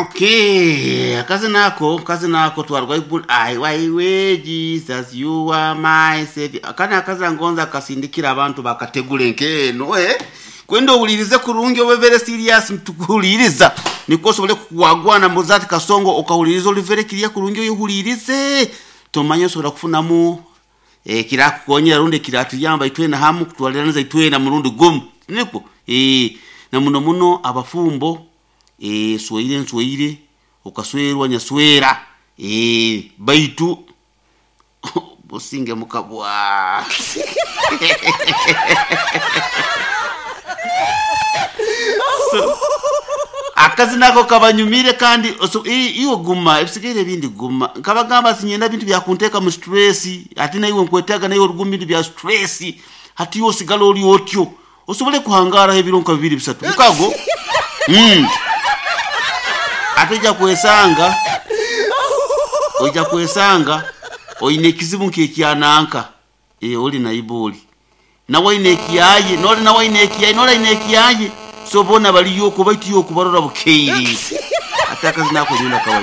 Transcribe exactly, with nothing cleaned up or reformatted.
Okay, akazi nako kazi nako twarwa ibul ai waiwe Jesus you are my savior. Akana akazi ngonza akasindikira abantu bakategule nkeno eh kwenda owulirize kurungi obe very serious ntukuhuliriza niko osobole kuwagwana muzati kasongo okahuliriza oli very clear kurungi oyihulirize tomanye osobola kufunamu eh kirakukonyera rundi kiratuyamba itwena hamu kutwaliraniza itwena murundi gumu niko eh na muno muno abafumbo eh swaire nswaire okaswerwa nyaswera eh baitu businge mukabwa so, akazi nako kabanyumire kandi so, iwe guma ebisigaire ebindi guma nkabagamba sinyenda bintu byakunteeka mu stress ate naiwe nkwetaaga naiwe oruguma bintu bya stress hati iwe osigala oli otyo osobole kuhangaraho ebiro nka bibiri bisatu mukago mm. ate ojja kwesanga ojja kwesanga oine ekizibu nk'ekyananka e, oli naiba oli nawe aine ekiyaye noli nawe aine ekiyaye noli aine ekiyaye so bona baliyo okuba itiyo okubarora bukeire ate akazi nako nyina kabanyumire.